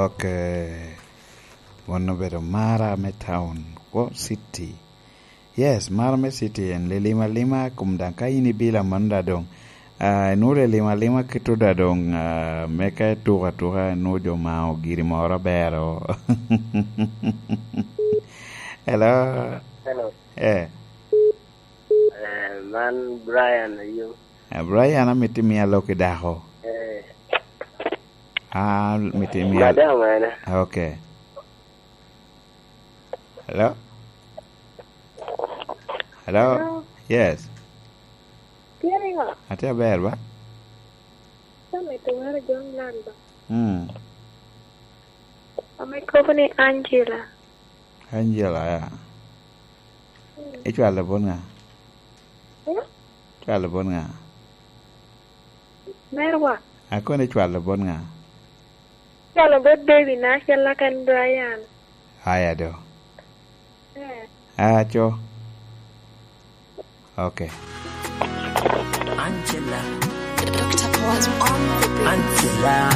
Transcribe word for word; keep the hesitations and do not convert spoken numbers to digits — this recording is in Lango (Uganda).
Ok. Mano obedo Mara me town, kwo city. Yes, Mara me city en lilim alima, kom daŋ ka in ibilo amanno da doŋ. Ah, inwoŋo lilim alima kito da doŋ, ah, me ka ituko atuka, inwoŋo jo mao giri moro abero. Hello? Hello. Eh. Eh, man Brian ayo. Eh, Brian, amito imia lok i dako. Eh. Ah, amito imia. Madam ene. Ah, ok. Hello? Hello? Hello? Yes. Tye niŋo? Atye aber ba? Amito wero John Land ba. Mm. Ame kobo ni Angela. Angela, ya. Mm. Icwalo bot ŋa? Eh? Icwalo bot ŋa? Merwa. Akono icwalo bot ŋa? Icwalo bot baby na acel aka en Brian. Aya do. Eh. Aco. Ok. Angela. Doctor Paul on the beat. Angela.